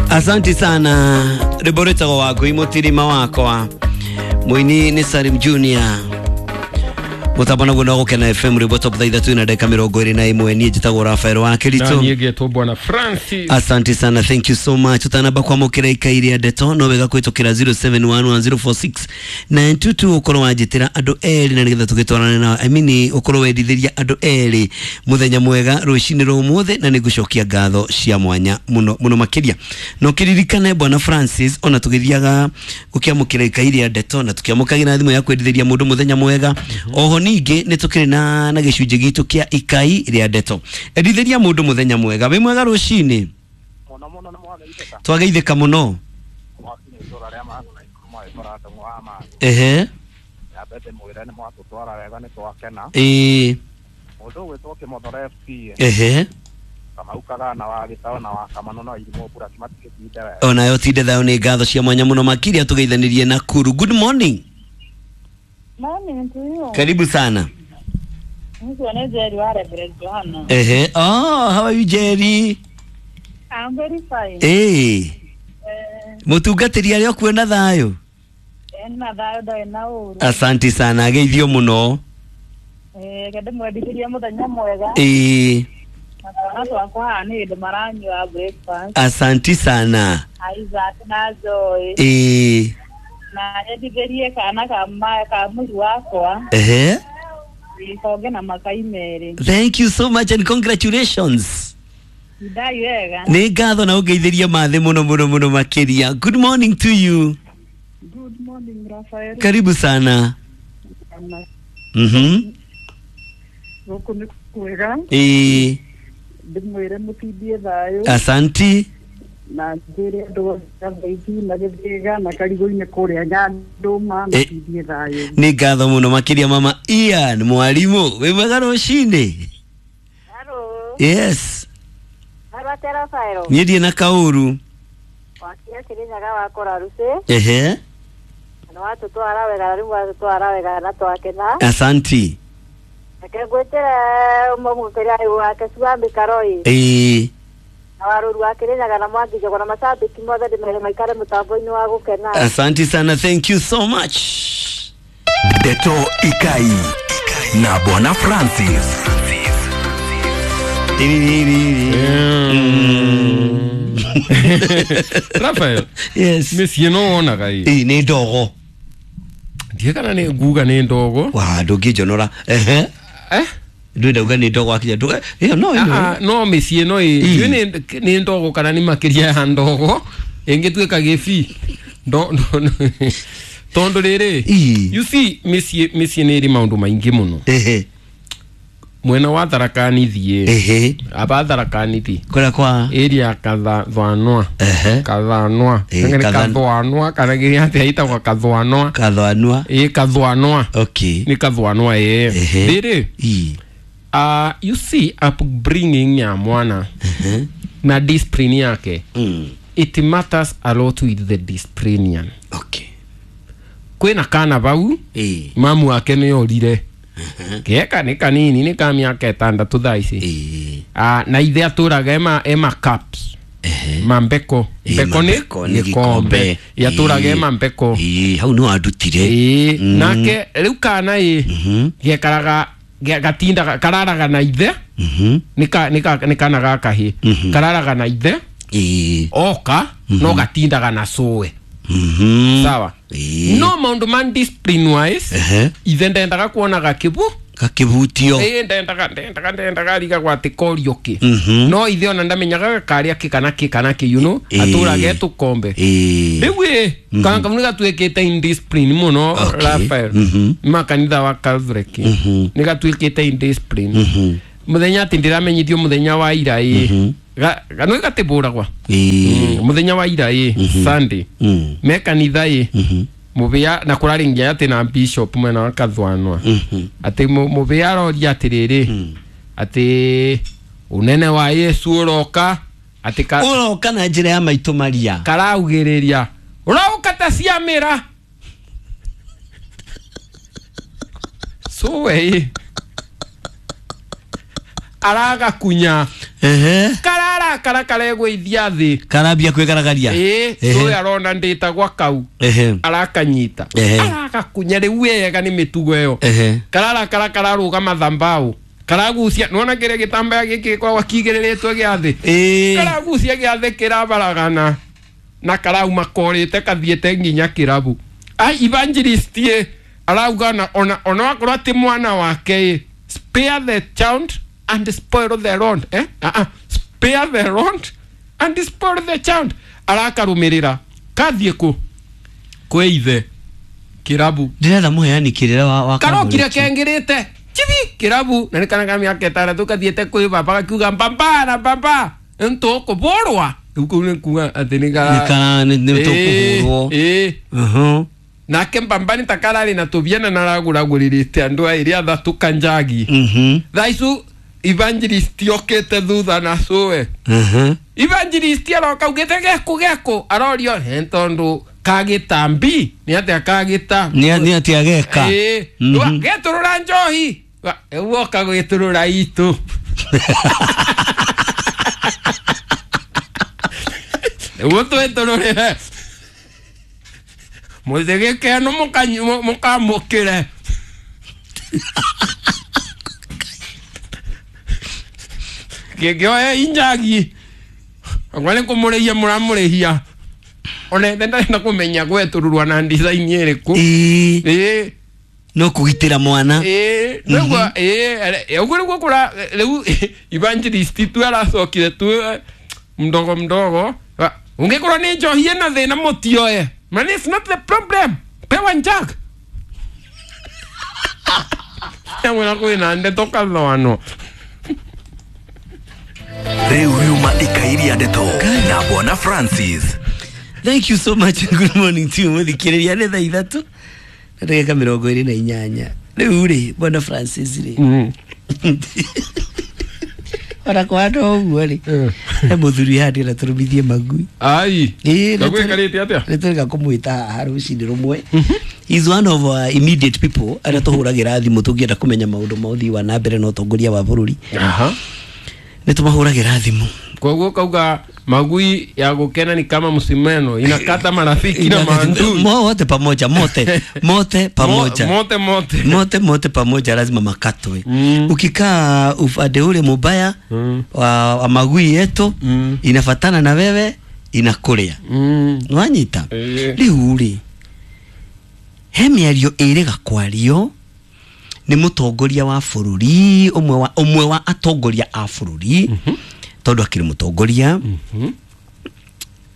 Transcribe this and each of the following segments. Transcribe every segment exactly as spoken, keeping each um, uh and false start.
Asante sana rwimbo rwĩtagwo Wangũi mũtirima wakwa mũini nĩ Salim Junior mũtambo naguo no gũkena F M rwimbo top thaa ithatũ na ndagĩka mĩrongo ĩrĩ na ĩmwe. Niĩ njĩtagwo Rafael wa Na Kĩritũ. niĩ ngetwo Bwana Francis. Asante sana, thank you so much. Utanamba kwamũkĩra ikai rĩa ndeto no wega kũhĩtũkĩra zero seven one one zero four six nine two two ũkorwo wanjĩtĩra andũ erĩ na nĩgetha tũgĩtwarane nao. I mean ũkorwo wendithĩria andũ erĩ mũthenya mwega rũcinĩ rwa ũmũthĩ, na nĩngũcokia ngatho cia mwanya mũno mũno makĩria. Na ũkĩririkane Bwana Francis, ona tũgĩthiaga gũkĩamũkĩra ikai rĩa ndeto na tũkĩamũkagĩra thimũ ya kwendithĩria mũndũ mũthenya mwega, oho ningĩ nĩ tũkĩrĩ na na gĩcunjĩ gitũ kĩa ikai rĩa ndeto. Endithĩria mũndũ mũthenya mwega. Wĩ mwega rũcinĩ? Mũno mũno nĩ mwageithĩka. Twageithĩka mũno. Mwakinya itũra rĩa Mang'u na ikuru mwagĩkora ndũng'ũ wa Mang'u. Ehe. Nyambe ndĩmwĩre nĩ mwatũtwara wega nĩ twakena. Ĩĩ. Mũndũ ũgwĩtwo Kĩmothoro F C. Ehe. Kamau Kagana wa Gĩtaũ na wa Kamano na Irimũ Mbura matigĩtinde wega. Onayo tinde thayũ. Nĩ ngatho cia mwanya mũno makĩria tũgeithanĩrie na Kuru. Good morning. Morning to you. Karibu sana. Nikuwa na Jerry wa Reverend Johanna. Ehe. Oh, how are you Jerry? I'm very fine. Eh. Eh, Mũtungatĩri arĩa ũkuona thayũ? ena thayũ ndarĩ na ũru. Asante sana, geithio mũno. Eh, reke ndĩmwendithĩrie mũthenya mwega. Ĩĩ. Na twana twakwa haha nĩ hĩndĩ maranyua breakfast. Asante sana. Isaac na Joy. Ĩĩ. Na nyendithĩrie kana ka ma ka mũri wakwa. Ehe. Ikonge na makai merĩ. Thank you so much and congratulations. Ndai wega. Nĩ ngatho na ũngeithĩrie mathĩ mũno mũno mũno makĩria. Good morning to you. Good morning Rafael. Karibu sana. Mhm. Gũkũ nĩ kwega. Ĩĩ. Ndĩmwĩre mũtindie thayũ. Asanti. Na njĩre andũ othe Gathaithi na Gĩthĩga na Karigũ-inĩ kũrĩa Nyandũma Eh. mũtindie thayũ. Nĩ ngatho mũno makĩria mama Ian mwarimũ. Wĩ mwega rũcinĩ? Hello. Yes. Hello atĩa Rafael. Niĩ ndirĩ na kaũru. Wakinya Kĩrĩnyaga wakora rũci. Ehe. Na watũtwara wega na rĩu watũtwara wega na twakena. Asanti. Reke ngwĩtĩre ũmwe mũkĩria wake Cuambi Karoi. Ĩĩ. Na warũru wa Kĩrĩnyaga na Mwangi Njogo na macambĩki mothe ndĩmere maikare mũtambo-inĩ wa gũkena. Asante sana, thank you so much. Ndeto Ikai na Bwana Francis. Mm. Rafael. Yes. Mĩciĩ no wonaga ĩ. Ĩĩ nĩ ndogo. Ndiĩ kana nĩ nguga nĩ ndogo. Wa ndũngĩnjonora. Ehe. Eh? Ndwenda uga nĩ ndogo akinya ndũga. Ĩyo no ĩno. Ah, no mĩciĩ no ĩ. Ĩ. Ndiũĩ nĩ nĩ ndogo kana nĩ makĩria ya ndogo. Ĩngĩtuĩka gĩbi. Ndo ndo tondũ rĩrĩ. Ĩ. You see mĩciĩ mĩciĩ nĩ ĩrĩ maũndũ maingĩ mũno. Ehe. Mwena wa Tharaka Nithi ĩ. Ehe. Aba Tharaka Nithi. Kũrĩa kwa Area Kathwanwa. Ehe. Kathwanwa. Ĩ, Nĩ Kathan- Kathwanwa kana kĩrĩa atĩa ĩtagwo Kathwanwa. Kathwanwa. Ĩ Kathwanwa. Okay. Nĩ Kathwanwa ĩ. Ehe. Rĩrĩ. Ĩ. Uh, you see upbringing ya mwana Ehe. na discipline yake. Mm. It matters a lot with the disciplinian. Okay. Kwĩna kana bau Ĩ. mamu wake nĩ orire. Geka nĩ kanini nĩ ka mĩaka ĩtandatũ thaa ici. Ĩ. Ah, na ithe atũraga ema ema cups. Ehe. Mambeko. Ĩ, Mbeko nĩ mambeko nĩ gĩkombe. Yatũraga Ĩ. ema mbeko. Ĩ, hau nĩ wandutire. Ĩ, Mm. nake rĩu kana ĩ Mhm. gekaraga ge- gatindaga kararaga na ithe Mhm. nĩ ka- nĩ ka- nĩ kana ga kahĩ Mhm. kararaga na ithe Ĩ. oka no gatindaga na cũwe. Mhm. Sawa. Ĩ. No maũndũ ma discipline wise Ehe. ithe ndendaga kuona gakĩbu Gakĩbutio. ĩ ndendaga ndendaga ndendaga arigagwo atĩ korio kĩ. Mhm. No ithe ona ndamenyaga gakarĩa kĩ kana kĩ kana kĩ you know Ĩ. atũraga etũkombe. Ĩ. Rĩu ĩ kana kau nĩ gatuĩkĩte indiscipline mũno Okay. Rafael. Mhm. Ma kanitha wa Calvary Mhm. nĩ gatuĩkĩte indiscipline. Mhm. Mũthenya atĩ ndĩramenyithio mũthenya wa ira ĩ Ga- ga- nĩ gatĩbũragwa. Ĩ. Mũthenya wa ira ĩ Sunday Mm. me kanitha ĩ Mhm. mũbĩa na kũrarĩ nginya atĩ na bishop mwena wa Kathwanwa Mhm. atĩ mũ- mũbĩa aroria atĩrĩrĩ atĩ ũnene wa Yesu ũroka atĩ ka- Ũroka na njĩra ya maitũ Maria. karaugĩrĩria ũroka ta ciamĩra cũwe ĩ aragakunya. Ehe. Karara kara karegwithia thi. Karambia kwigaragaria. Ĩĩ, ũyũ arona ndĩtagwa kau. Ehe. Arakanyita. Ehe. Aragakunya rĩu wega nĩ mĩtugo ĩyo. Ehe. Karara kara kararũgama thambao. Karagucia nĩwona kĩrĩa gĩtambaya gĩkĩ gĩkoragwo kĩigĩrĩrĩtwo gĩa thĩ. Ĩĩ. Karagucia gĩa thĩ kĩrabaragana na karauma korĩte kathiĩte nginya kĩrabu. Ai evangelist ĩ arauga ona ona ona wakorwo atĩ mwana wake ĩ spare the child and spoil the rod eh ah ah spare the rod and spoil the child arakarumirira kathiĩ kũ kwĩ ithe kĩrabu Ndĩretha mũheani kĩrĩra wa wa karokire kambuni. kengĩrĩte chibi kĩrabu na nĩ kana ka mĩaka ĩtandatũ kathiĩte kwĩ baba gakiuga mbamba na mbamba ntũkũbũrwa rĩu kũu nĩ kuga atĩ nĩ kara Nĩ kara nĩ nĩ tũkũhũrwo. ĩĩ Mhm. nake mbamba nĩ ta kararĩ na tũbiana na aragũragũrĩrĩte andũ aĩrĩ athatũ kanjagi Mhm. thaa icu evangelist okĩte thutha na cũwe Mhm. evangelist aroka augĩte geku geku arorio nĩ tondũ kagĩtambi nĩ atĩa kagĩta Nĩ nĩ atĩa geka. Ĩĩ. Mhm. Wa- getũrũra njohi Wa- rĩu woka gwĩtũrũra itũ nĩguo twĩtũrũrĩre mũthĩgĩkeno mũkamũkĩre kĩngĩoya injagi akwa nĩ kũmũrĩhia mũramũrĩhia ona ithe ndarenda kũmenya gwetũrũrwa na design ĩrĩkũ Ĩĩ. ĩĩ No kũgitĩra mwana. ĩĩ nĩguo ĩĩ ũguo nĩguo kũra rĩu evangelist tu aracokire tu eh, mdogo mdogo Wa- ũngĩkorwo nĩ njohi ĩna thĩna mũtioe man it's not the problem pewa njag amwĩra kwĩna ndeto kathwano Rĩu riuma ikairia ndeto na Bwana Francis. Thank you so much. Good morning to you. Mũthikĩrĩria nĩ thaa ithatũ na ndagĩka mĩrongo ĩrĩ na inyanya. Rĩu rĩ Bwana Francis rĩ ona kũhana ũguo rĩ he mũthuri haha ndĩrenda tũrũmithie magui. Ai Ĩĩ, Ndagwĩkarĩte atĩa nĩ tũrĩga kũmwĩta haha rũcinĩ rũmwe. He's one of our immediate people arĩa tũhũragĩra thimũ tũngĩenda kũmenya maũndũ ma ũthii wa na mbere na ũtongoria wa bũrũri. Aha. Nĩ tũmahũragĩra thimũ. Koguo kauga magui ya gukena ni kama msimeno inakata marafiki na maandui. Mo- wote pamoja mote mote pamoja Mo- mote mote mote mote pamoja lazima makatwe. Mm. Ukikaa upande ule mubaya Mm. wa, wa magui yetu Mm. inafatana na wewe inakuria Mm. nwanyita Ĩĩ. riu ri he mĩario ĩrĩga kwario nĩ mũtongoria wa bũrũri ũmwe wa ũmwe wa atongoria a bũrũri tondũ akĩrĩ mũtongoria Mhm.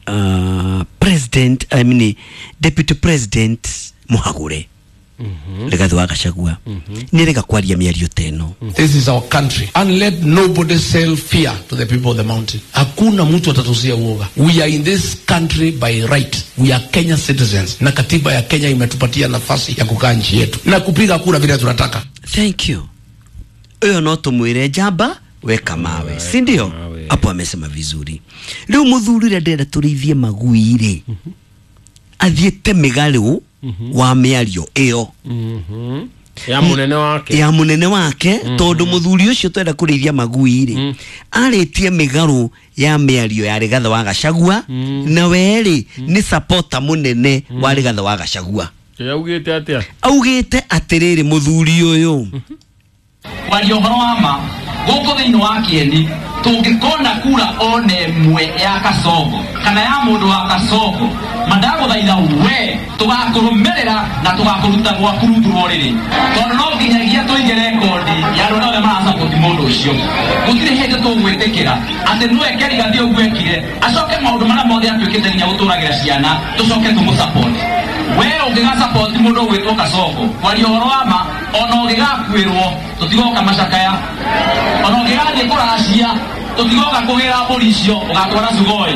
uh, president I mean, deputy president mũhagũre Rigathi wa Gachagua nĩ rĩga kwaria mĩario ta ĩno. This is our country and let nobody sell fear to the people of the mountain. Hakuna mtu atatusia uoga. We are in this country by right. We are Kenya citizens na katiba ya Kenya imetupatia nafasi ya kukaa nchi yetu na kupiga kura vile tunataka. Thank you. Ũyũ no tũmwĩre njamba weka mawe, si ndio? Mawe. Hapo amesema vizuri. Rĩu mũthuri ũrĩa ndĩrenda tũrĩithie magui rĩ athiĩte mĩgarũ wa mĩario ĩyo Mhm. Ya munene wake. ya mũnene wake tondũ mũthuri ũcio twenda kũrĩithia magui rĩ arĩtie mĩgarũ ya mĩario ya Rigathi wa Gachagua na we rĩ nĩ supporter mũnene wa Rigathi wa Gachagua. Yaugĩte atĩa? Augĩte atĩrĩrĩ mũthuri ũyũ Kwaria ũhoro wa ma gũkũ thĩinĩ wa kĩeni tũngĩkona kura ona ĩmwe ya Kasongo kana ya mũndũ wa Kasongo mandagũthaitha we tũgakũrũmĩrĩra na tũgakũruta gwaku rungu rwa ũrĩrĩ tondũ no nginyagia tũige rekondi ya andũ arĩa othe marasapoti mũndũ ũcio gũtirĩ hĩndĩ tũgwĩtĩkĩra atĩ nĩwe Rigathi ũguo ekire acoke maũndũ marĩa mothe atuĩkĩte nginya gũtũragĩra ciana tũcoke tũmũsapoti we ũngĩgasapoti mũndũ ũgwĩtwo Kasongo kwaria ũhoro wa ma ona ũngĩgakuĩrwo tũtigoka macakaya ona ũngĩgathiĩ kũracia tũtigoka kũgĩra mbũri icio ũgatwara Sugoi.